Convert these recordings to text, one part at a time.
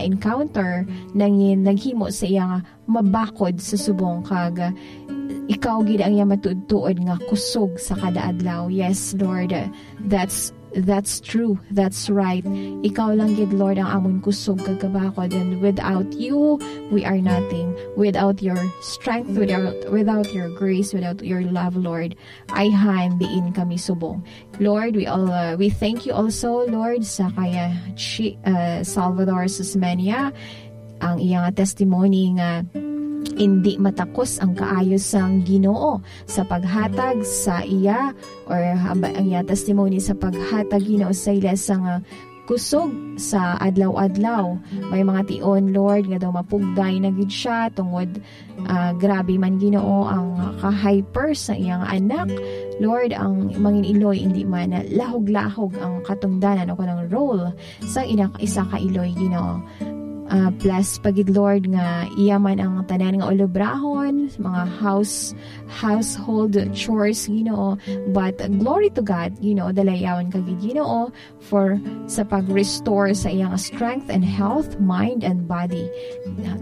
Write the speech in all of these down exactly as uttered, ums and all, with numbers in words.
encounter nangin naghimo sa iya nga mabakod sa subong, kag ikaw gid ang iya matuod-tuod nga kusog sa kada adlaw. Yes, Lord, that's that's true. That's right. Ikaw lang gid, Lord, ang amon kusog kag kabakod, and without you, we are nothing. Without your strength, without without your grace, without your love, Lord, ayhan diin kami subong. Lord, we all uh, we thank you also, Lord, sa kaya Chi, uh, Salvador Susmenia, ang iya nga testimony nga hindi matakos ang kaayo sang Ginoo sa paghatag sa iya, or haba-, ang iya testimony sa paghatag, Ginoo, sa ila sa nga kusog sa adlaw-adlaw. May mga tion, Lord, nga daw mapugday na gid siya tungod, ah, grabe man, Ginoo, ang ka-hyper sa iyang anak. Lord, ang mangin iloy, hindi man lahog-lahog ang katungdanan o kanang role sa ina-, isa ka iloy, Ginoo. Ah, bless pa gid, Lord, nga iya man ang tanan nga ulobrahon, mga house household chores, Ginoo. But glory to God, Ginoo, dalayawon ka gid, Ginoo, for sa pag-restore sa iyang strength and health, mind and body.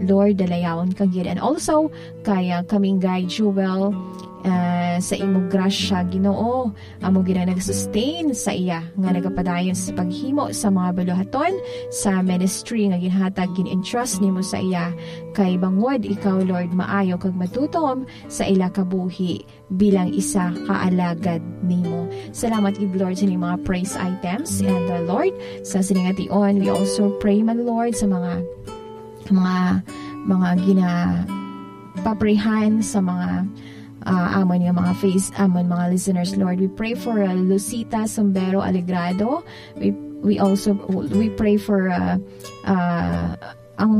Lord, dalayawon ka gid. And also, kaya kaming guide, Jewel, ah, sa imong grasya, Ginoo, amo gid ang nag-sustain sa iya nga nagapadayon sa paghimo sa mga baluhaton sa ministry nga ginhatag, gin-entrust nimo sa iya, kay bangod ikaw, Lord, maayo kag matutom sa ila kabuhi bilang isa ka alagad nimo. Salamat gid, Lord, sa inyong mga praise items. And, uh, Lord, sa sining ation, we also pray man, Lord, sa mga, mga, mga gina-, paprihan sa mga, uh, amon nga mga face, amon mga listeners, Lord. We pray for, uh, Lucita Sombero Alegrado. We, we also, we pray for, uh, uh, ang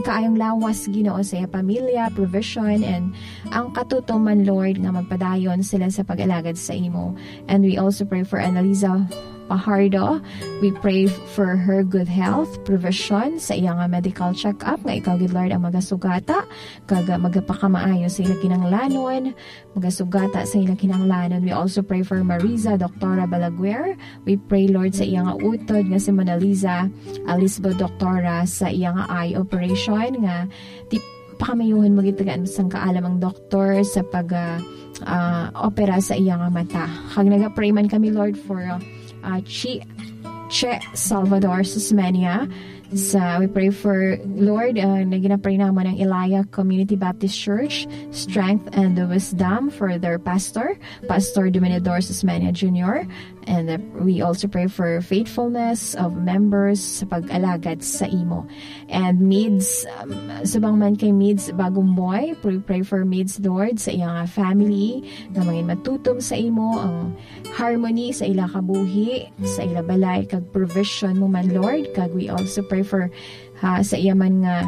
kaayong lawas, Ginoo, sa iya pamilya, provision, and ang katutuman, Lord, nga magpadayon sila sa pag-alagad sa imo. And we also pray for Annalisa Pajardo. We pray for her good health, provision sa iya nga medical check-up, nga ikaw gid, Lord, ang magasugata kag, ah, magapakamaayo sa ila kinahanglanon, magasugata sa ila kinahanglanon. We also pray for Mariza Doctora Balaguer. We pray, Lord, sa iya nga utod nga si Mona Lisa Alisbo Doctora sa iya nga eye operation nga ti-, pakamaayuhon mo gid, tagaan sang kaalam ang doktor sa pag, ah, ah, opera sa iya nga mata. Kag nagapray man kami, Lord, for, ah, ah, Chi, Che Salvador Susmania. Sa, we pray for, Lord, uh, na ginapray namon ang Elia Community Baptist Church, strength and wisdom for their pastor, Pastor Dominador Susmania Junior. And, uh, we also pray for faithfulness of members sa pag-alagad sa imo. And Mids, um, subong man kay Mids Bagumboy, pray, pray for Mids, Lord, sa iyang family, nga mangin matutom sa imo, ang harmony sa ila kabuhi, sa ila balay, kag provision mo man, Lord. Kag we also pray for, ha, sa iya man nga,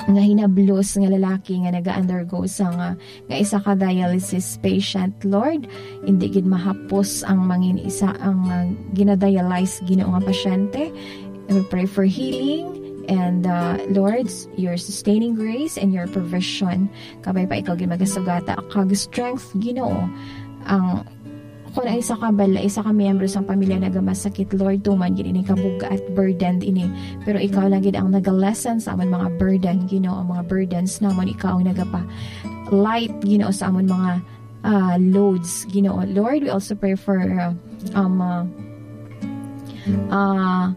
nga hinablos nga lalaki nga naga-undergo sa nga, nga isa ka dialysis patient, Lord. Hindi gid mahapos ang mangin isa ang, ah, ginadialyze, Ginoo, nga pasyente. We pray for healing and, uh, Lord, your sustaining grace and your provision. Kabay pa ikaw gid magasugata kag strength, Ginoo. Ang, kung ang isa ka bala, isa ka miyembro sang pamilya nagamasakit, Lord, tuman gid ini kabug-at, burdened ini. Pero ikaw lang gid ang naga-lessen sa amon mga burden, Ginoo, ang mga burdens namon, ikaw ang nagapa light, Ginoo, sa amon mga, ah, loads, Ginoo. Lord, we also pray for, uh, um, uh, uh,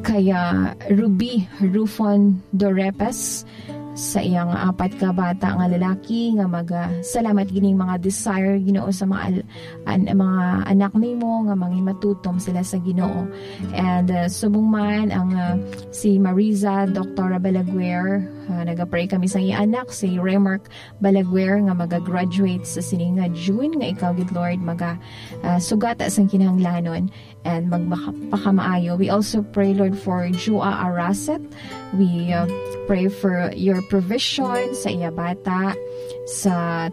kaya Ruby Rufon Dorepes sa iyang apat ka bata nga lalaki nga maga-, salamat gining mga desire, Ginoo, sa mga al-, an-, mga anak nimo nga mangin matutom sila sa Ginoo. And, uh, subong man ang, uh, si Mariza Doctora Balaguer, uh, nagapray kami sa iyang anak, si Remark Balaguer, nga maga-graduate sa sining nga June, nga ikaw gid, Lord, maga, uh, sugata sang kinahanglanon and magmaka-, pakamaayo. We also pray, Lord, for Jua Araset. We, uh, pray for your provision sa iya bata, sa,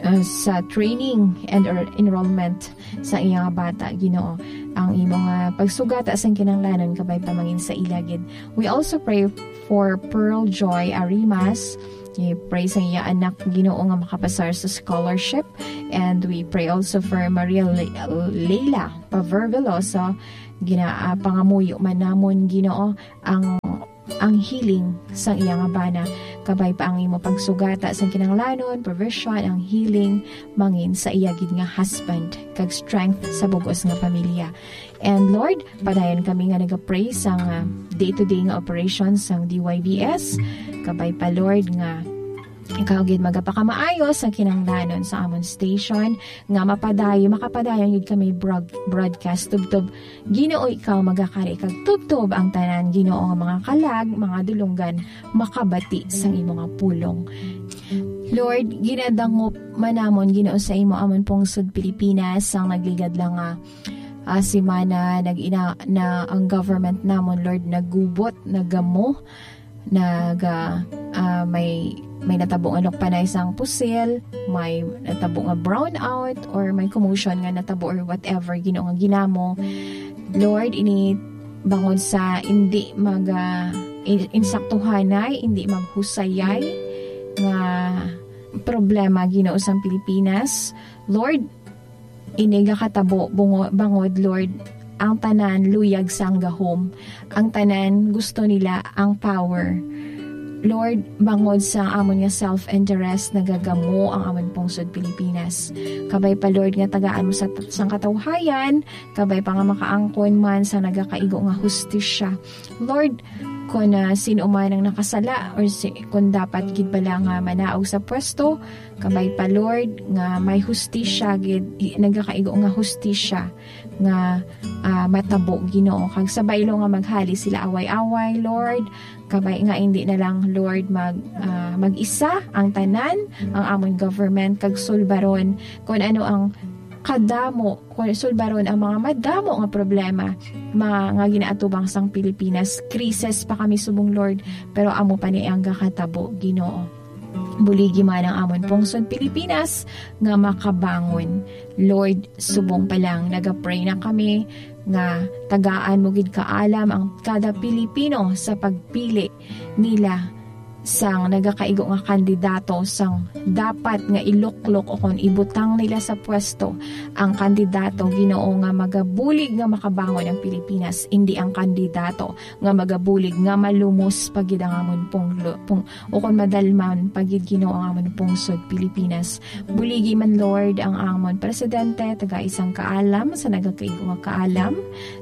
uh, sa training and or enrollment sa iya bata, Ginoo. Ang imong, uh, pagsugata sang kinahanglanon kabay pa mangin sa ila gid. We also pray for Pearl Joy Arimas. We pray sa iya anak, Ginoo, nga makapasar sa scholarship. And we pray also for Maria Le-, Leila Paver Veloso, gina-, ah, pangamuyo man namon, Ginoo, ang ang healing sang iya nga bana, kabay pa ang imo pagsugata sang kinahanglanon, provision, ang healing mangin sa iya gid nga husband, kag strength sa bug-os nga pamilya. And Lord, padayon kami nga nagapray sang, ah, day-to-day nga operations sang D Y V S, kabay pa, Lord, nga ikaw gid magapakamaayo sa kinahanglanon sa amon station, nga mapadayon, makapadayon gid kami broad-, broadcast tubtob Ginoo, ikaw magakari kag tubtob ang tanan, Ginoo, nga mga kalag, mga dulonggan, makabati sang imo nga pulong. Lord, ginadangop man namon, Ginoo, sa imo amon pungsod Pilipinas, sang nagligad lang nga, ah, semana, nag-ina-, na ang government namon, Lord, nagubot, nagamo, naga, ah, may, may natabo nga nukpanay sang pusil, may natabo nga brownout, or may commotion nga natabo, or whatever, Ginoo, nga ginamo. Lord, ini bangod sa hindi maga-, in-, insaktuhanay, hindi maghusayay nga problema, Ginoo, sang Pilipinas. Lord, ini gakatabo bungo-, bangod, Lord, ang tanan luyag sang gahom. Ang tanan gusto nila ang power. Lord, bangod sa amon nga self-interest, nagagamo ang amon pungsod Pilipinas. Kabay pa, Lord, nga tagaan mo sa, sang katawhayan, kabay pa nga makaangkon man sa nagakaigo nga hustisya. Lord, kung, ah, sino man ang nakasala, or si, kung dapat gid bala nga manaog sa pwesto, kabay pa, Lord, nga may hustisya gid, i-, nagakaigo nga hustisya nga, ah, matabo, Ginoo. Kag sa baylo nga maghali sila away-away, Lord, kabay nga hindi na lang, Lord, mag, ah, mag-isa ang tanan, ang amon government, kag sulbaron kung ano ang kadamo, kung sulbaron ang mga madamo nga problema, mga nga ginaatubang sang Pilipinas. Krisis pa kami subong, Lord, pero amo pa ni ang gakatabo, Ginoo. Buligi man ang amon pungsod Pilipinas nga makabangon. Lord, subong pa lang, nagapray na kami nga tagaan mo gid kaalam ang kada Pilipino sa pagpili nila sang nagakaigo nga kandidato, sang dapat nga iluklok o kon ibutang nila sa pwesto ang kandidato, Ginoo, nga magabulig nga makabangon ang Pilipinas, indi ang kandidato nga magabulig nga malumos pa gid ang amon punglo-, pung-, o kon madalman pa gid, Ginoo, ang amon pungsod Pilipinas. Buligi man, Lord, ang amon presidente, taga isang kaalam sa nagakaigo nga kaalam.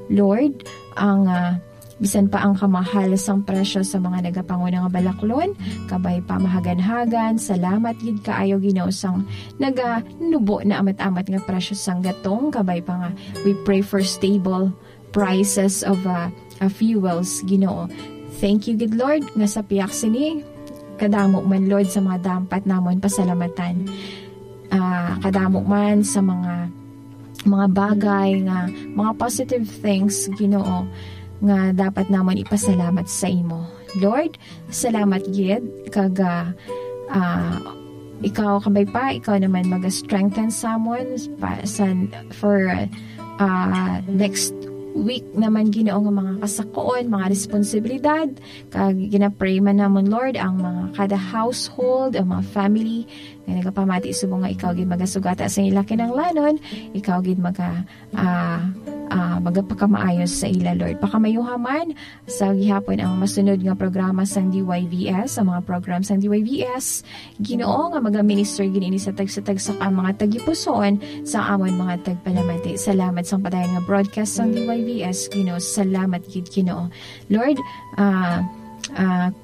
Lord, ang, ah, bisan pa ang kamahal sang presyo sa mga nagapanguna nga balaklon, kabay pa mahaganhagan. Salamat gid kaayo, Ginoo, sang naganubo na amat-amat nga presyo sang gatong, kabay pa nga we pray for stable prices of, uh, uh, fuels, Ginoo. Thank you gid, Lord, nga sa pihak sini, kadamo man, Lord, sa mga dapat namon pasalamatan. Ah, kadamo man sa mga, mga bagay nga, mga positive things, Ginoo, nga dapat namon ipasalamat sa imo. Lord, salamat gid kag, ah, ah, ikaw, kabay pa, ikaw naman mag-strengthen sa amon pa, sa, for, ah, next week naman, Ginoo, nga mga kasakoon, mga responsibilidad, kag ginapray man namon, Lord, ang mga kada household, ang mga family nga nagapamati subong nga ikaw gid magasugata sa ila kinahanglanon, ikaw gid maga-, ah, ah, magapakamaayo sa ila, Lord. Pakamayuha man sa gihapon ang masunod nga programa sang D Y V S, ang mga program sang D Y V S, Ginoo, nga magaminister gid ini sa tagsa-tagsa ka mga tagipusoon sa amon mga tagpalamati. Salamat sang padayon nga broadcast sang D Y V S, Ginoo. Salamat gid, Ginoo. Lord, ah, ah,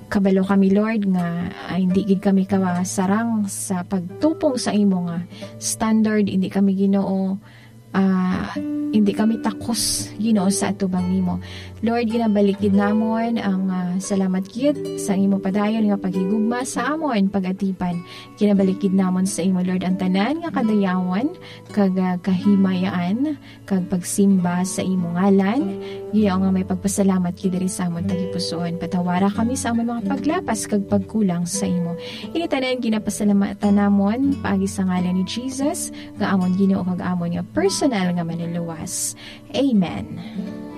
kabalo kami, Lord, nga, ah, hindi gid kami kasarang sa pagtupong sa imo nga standard. Hindi kami, Ginoo, ah, hindi kami takos, Ginoo, sa atubang nimo. Lord, ginabalik gid namon ang, ah, salamat gid sa imo padayon nga paghigugma sa amon pag-atipan. Ginabalik gid namon sa imo, Lord, ang tanan nga kadayawan kag, ah, kahimayaan kag pagsimba sa imo ngalan. Ginoo, nga may pagpasalamat gid diri sa amon tagipusoon. Patawara kami sa amon mga paglapas kag pagkulang sa imo. Ini tanan ginapasalamatan namon paagi sa ngalan ni Jesus, nga amon Ginoo kag amon nga personal nga Manluluwas. Amen.